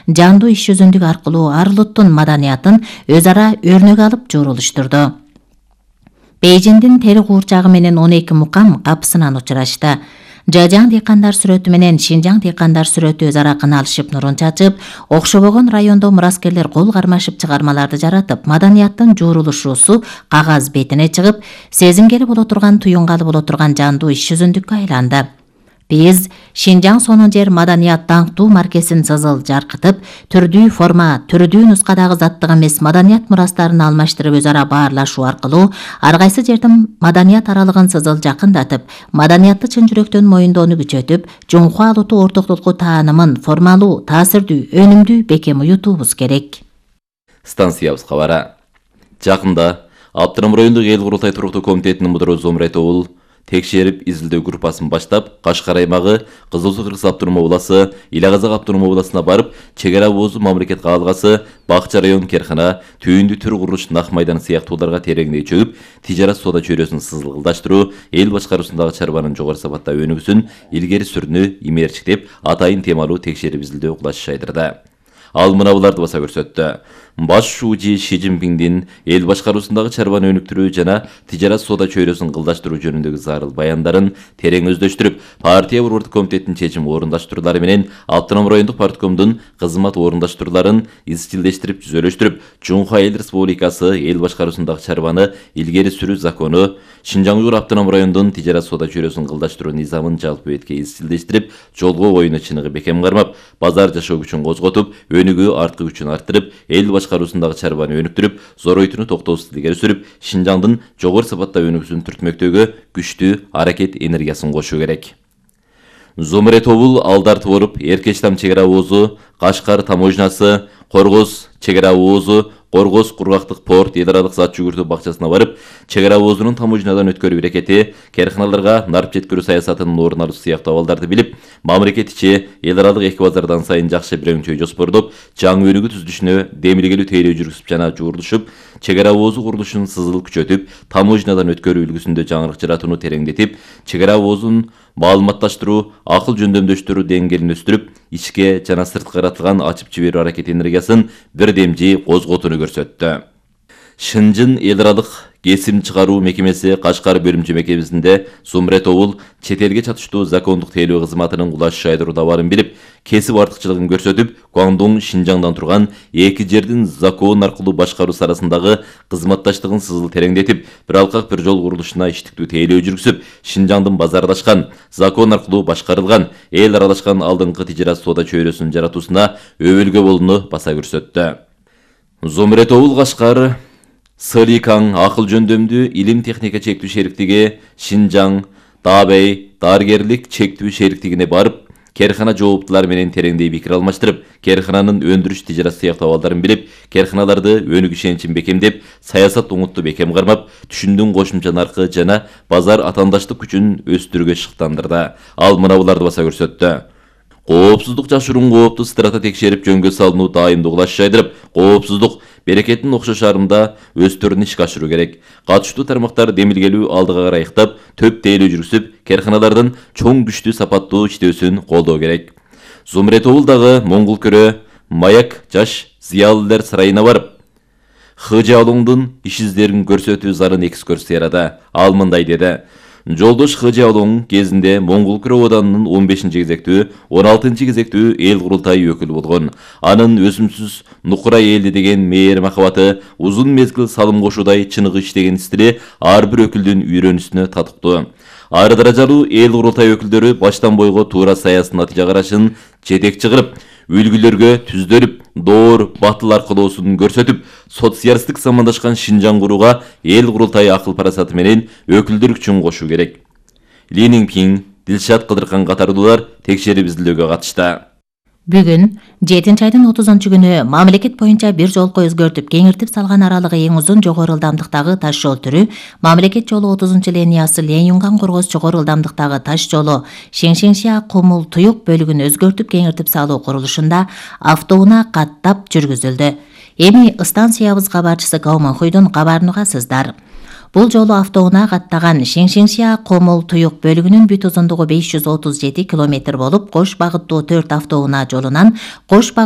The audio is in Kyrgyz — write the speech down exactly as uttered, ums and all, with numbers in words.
жандуу иш жүзүндүк аркылуу ар улуттун маданиятын өз ара өрнөк алып журулуштурду. Бейжиңдин тери куурчагы менен он эки мукам капысынан учурашты. Жажаң дыйкандар сүрөтү менен Шинжаң дыйкандар сүрөтү өз ара кыналышып нурун чачып, окшобогон райондо мураскерлер кол кармашып чыгармаларды жаратып, маданияттын жуурулушуусу кагаз бетине чыгып, сезимгели боло турган, туюнгалы боло турган жандуу иш жүзүндүккө айланды. Биз Шинжаң сонун жер маданият даңктуу маркесин сызыл жаркытып, түрдүү форма, түрдүү нускадагы заттык эмес маданият мурастарын алмаштырып өз ара баарлашуу аркылуу ар кайсы жердин маданият аралыгын сызыл жакындатып, маданиятты чын жүрөктөн моюндоону күчөтүп, Жунхва улуту ортоктулуку таанымын формалуу, таасирдүү, өнүмдүү бекем уютуубуз керек. Станциябыз кабары. Жакында Аптырам райондук эл курултай туруктуу комитетинин мудуру Зумрет Оул текшерип изилдөө группасын баштап, Кашкар аймагы, Кызыл Суу Кыргыз автоном обласы, Ила Казак автоном обласына барып, чек ара боозу мамлекет каалгасы, Бакча район керкана, түйүндү түр курулуш нак майдан сыяктууларга тереңдей чөгүп, тижарат соода чөйрөсүн сызылдаштыруу, эл башкаруусундагы чарбанын жогору сапатта өнүгүүсүн илгери сүрүүнү имээрчиктеп, атайын темалуу текшерип изилдөө кылыш жайдырды. Ал мына буларды баса көрсөттү. Баш шуужи Ши Цзиньпиндин эл башкаруусундагы чарбаны өнүктүрүү жана тижарат соода чөйрөсүн кылдаштыруу жөнүндөгү зарыл баяндарын терең өздөштүрүп, партия борбордук комитетинин чечим орундаштыруулары менен Аптырам райондук парткомдун кызмат орундаштырууларын изчилдештирип, түзөлөштүрүп, Жунхва эл республикасы эл башкаруусундагы чарбаны илгери сүрүү закону, Шинжаң Уйгур автоном райондун тижарат соода чөйрөсүн кылдаштыруу низамын жалпы бетке изчилдештирип, жолго коюуну чыныгы бекем кармап, базар жашоо күчүн козготуп, өнүгүү арткы күчүн арттырып, эл башкаруусундагы чарбаны өнүктүрүп, зоройтууну токтоосуз илгери сүрүп, Шинжаңдын жогору сапатта өнүгүүсүн түртмөктөгө күчтүү аракет энергиясын кошуу керек. Зумрет Оул алдарты болуп, Эркечтам чек ара оозу, Кашкар таможнясы, Коргоз чек ара оозу, Коргоз кургактык порт эл аралык зат жүгүртүү бакчасына барып, чек ара оозунун таможнядан өткөрүү аракети, керканаларга нарп жеткирүү саясатынын орун алуу сыяктуу абалдарды билип, мамлекет ичи эл аралык эки базардан сайын жакшы бирөңчөй жоспордоп, жаңы өнүгүү түзүлүшүнө демилгелүү тейлөө жүргүзүп жана жуурулушуп, чек ара оозу курулушун сызыл күчөтүп, таможнядан өткөрүү үлгүсүндө жаңырык жаратууну тереңдетип, чек ара оозун маалыматташтыруу, акыл жөндөмдөштүрүү деңгээлин өстүрүп, ичке жана сырткы каратылган ачып жиберүү аракети энергиясын бирдемжи козготууну көрсөттү. Шынжын эл аралык кесим чыгаруу мекемеси Кашкар бөлүмчө мекемесинде Зумрет Оул чет элге чатыштуу закондук тейлөө кызматынын кулаш жайдыруу барын билип, кесип артыкчылыгын көрсөтүп, Гуандун Шинжаңдан турган эки жердин закон аркылуу башкаруусу арасындагы кызматташтыгын сызыл тереңдетип, бир алкак бир жол курулушуна иштиктүү тейлөө жүргүзүп, Шинжаңдын базарлашкан, закон аркылуу башкарылган, эл аралашкан алдыңкы тижарат соода чөйрөсүн жаратуусуна өбөлгө болууну баса көрсөттү. Зумрет Оул Кашкар Сыликаң акыл жөндөмдүү илим техника чектүү шериктиги Шинжаң Дабей дарыгерлик чектүү шериктигине барып, керкана жооптулары менен тереңдей пикир алмаштырып, керкананын өндүрүш тижарат сыяктуу абалдарын билип, керканаларды өнүгүү ишеничин бекемдеп, саясат угутту бекем кармап, түшүндүн кошумча наркы жана базар атаандаштык күчүн өстүрүүгө шыктандырды. Ал мына буларды баса көрсөттү. Коопсуздук жашыруун коопту страта текшерип жөнгө салынуу даимдуу кылаш жайдырып, коопсуздук берекеттин окшош арымда өстөрүн ишке ашыруу керек. Катыштуу тармактар демилгелүү алдыга карай ыктап, төп тейлөө жүргүзүп, керканалардын чоң күчтүү сапаттуу иштөөсүн колдоо керек. Зумрет Оул дагы Моңгул көрө Маяк жаш зыялылар сарайына барып, Хыжы Алоңдун иш издерин көрсөтүү зарын экскурсия ярады. Ал мындай деди. Жолдош Хыжы Алоң кезинде Моңгул көрө оданынын он бешинчи кезектүү, он алтынчы кезектүү эл курултайы өкүлү болгон. Анын өсүмсүз нукура элди деген мээр махабаты, узун мезгил салым кошуудай чыныгы иштеген стили ар бир өкүлдүн үйрөнүшүнө татыктуу. Ар даражалуу эл курултай өкүлдөрү баштан бойго туура саясий натыйжа карашын жетекчи кылып, үлгүлөргө түздөлүп, доор батыл аркылоосун көрсөтүп, социалисттик замандашкан Шинжаң курууга эл курултайы акыл парасаты менен өкүлдөр күчүн кошуу керек. Ли Ниңпиң, Дилшат Кыдыркан катардуулар текшерип изилдөөгө катышты. Бүгүн жетинчи айдын отузунчу күнү мамлекет боюнча бир жолко өзгөртүп, кеңиртип салган аралыгы эң узун жогору ылдамдыктагы таш жол түрү мамлекет жолу отузунчу линиясы Ленюнган Коргоз жогору ылдамдыктагы таш жолу Шеңшеңшия Кумул Туюк бөлүгүн өзгөртүп кеңиртип салуу курулушунда автоунаа каттап жүргүзүлдү. Эми станциябыз кабарчысы Гауман Хуйдун кабарын угасыздар. Бул жолу автоунаа каттаган Шеңшеңшия Комол Туюк бөлүгүнүн бүт узундугу беш жүз отуз жети километр болуп, кош багыттуу төрт автоунаа жолунан кош багыттуу